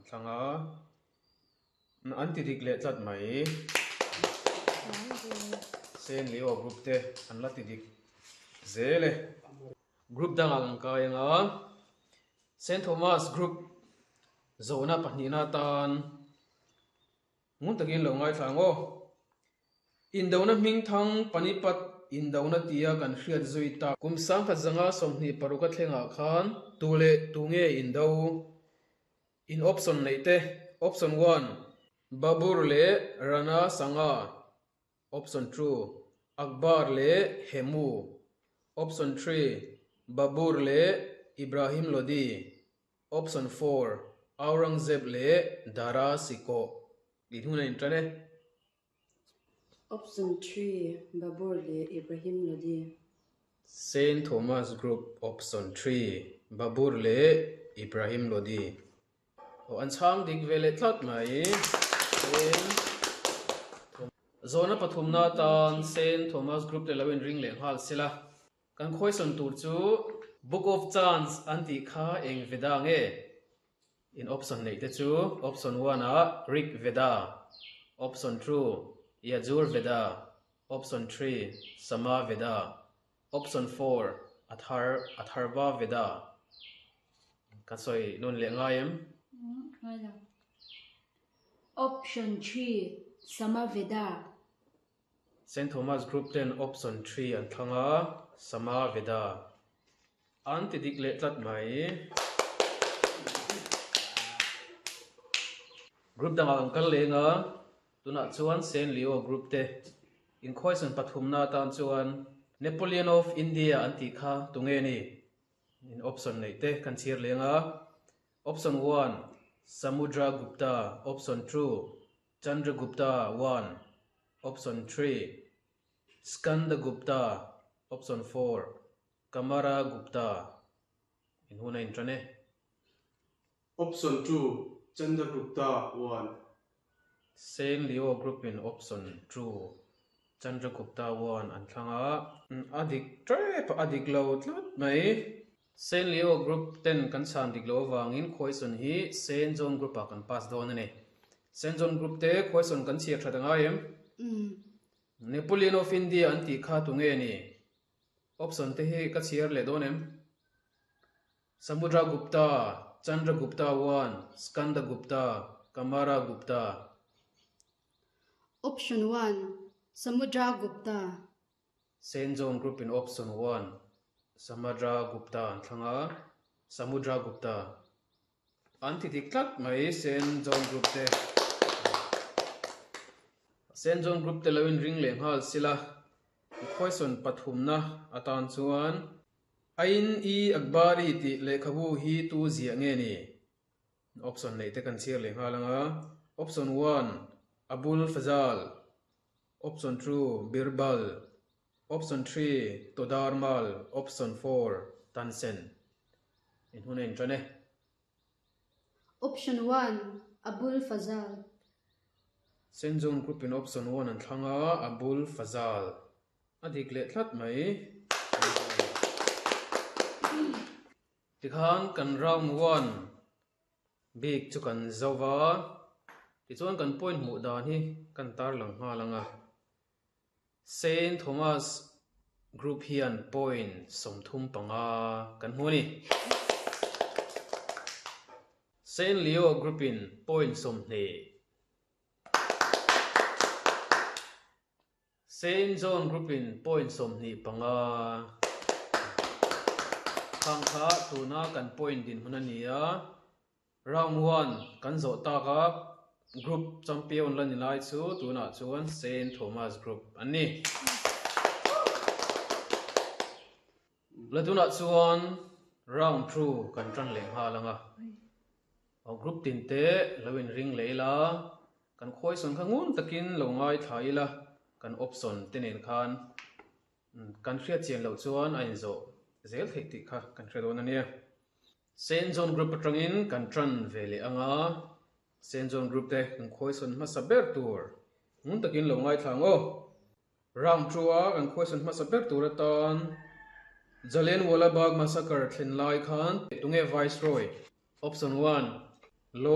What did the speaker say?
thlang a, an ti dik leh tlat mai. Saint Leo group te an la ti dik zel e. Group dangah kan kai ang a, Saint Thomas group zawhna pahnihna atan Ngun takin lo ngaithla ang aw. Indona hming thang Panipat indona tia kan hriat zui tak. Kum 1926 a thlengah khan tu leh tu nge indo? In option neih te, Option one, Babur leh Rana Sanga, Option two, Akbar leh Hemu, Option three, Babur leh Ibrahim Lodi. Option 4, Aurangzeb leh Dara Shikoh tih hnun a intan e. Option 3, Babur leh Ibrahim Lodi. Saint Thomas Group Option 3, Babur leh Ibrahim Lodi. Aw an chhang dik ve leh tlat mai. Saint Zawhna pathumna atan Saint Thomas Group te lo inring leh nghal sela. Kan khawisawn tur chu Book of Chants an tih kha eng Veda nge? In option neih te chu option one ah Rig Veda, option two Yajur Veda, option three Sama Veda, option four Athar Atharva Veda. Ka sawi nawn leh ngai em? Ngai lo. Option three Sama Veda. Saint Thomas Group ten option 3 an thlang a, Sama Veda an ti dik leh tlat mai. Group dangah kan kal leng a, tunah chuan Saint Leo Group te inkhawisan pathumna atan chuan Napoleon of India an tih kha tunge ni? In option neih te kan chhiar leng a, Option 1, Samudra Gupta, Option 2, Chandragupta 1, Option 3, Skandagupta, Option 4, Kamaragupta in hun a intan e. Option 2, Chandragupta 1. Saint Leo Group in Option 2, Chandragupta 1 an thlang a. A dik tep a, a dik lo tlat mai. Saint Leo Group ten kan chhan dik loh avangin Khawisawn hi Saint John Group ah kan pass dawn a ni. Saint John Group te Khawisawn kan chhiar that a ngai em? Napoleon of India an tih kha tunge ni? Option te hi ka chhiar leh dawn em? Samudra Gupta, Chandra Gupta I, Skanda Gupta, Kamara Gupta. Option 1, Samudra Gupta. Saint John Group in Option 1, Samadra Gupta an thlang a, Samudra Gupta an ti dik tlat mai Saint John Group te. Saint John Group te lo in ring leh nghal sila, question pathumna atan chuan Ain-i Akbari tih lehkhabu hi tu ziah nge ni? Option neih te kan chhiar leh nghal ang a, Option 1, Abul Fazal, Option 2, Birbal, Option 3, Todarmal, Option 4, Tansen. In hun a intan e. Option 1, Abul Fazal. Saint John Group in Option 1 an thlang a, Abul Fazal. A dik leh tlat mai. Tikhan kan round 1 bik chu kan zo va, tichuan kan point hmuh dan hi kan tarlang nghal ang a. Saint Thomas Group hian point 35 kan hmu a ni. Saint Leo Group in point 20. Saint John Group in point 25 khang kha tuna kan point dinhmun a ni a, round 1 kan zawh tak a, group champion la ni lai chu tunah chuan Saint Thomas Group an ni. La tunah chuan round 2 kan tan leh nghal ang a, group tin te lo inring leh ila. Kan khawisawn kha ngun takin lo ngaithla ila, kan option te nen khan kan hriat chian loh chuan a inzawh zel theih tih kha kan hre dawn a nia. Saint John Group atangin kan tan ve leh ang a, Saint John Group te kan khawisawn hmasa ber tur ngun takin lo ngaithla ang aw. Round 2 a kan khawisawn hmasa ber tur atan Jallianwala Bagh Massacre thlen lai khan tunge Viceroy? Option 1.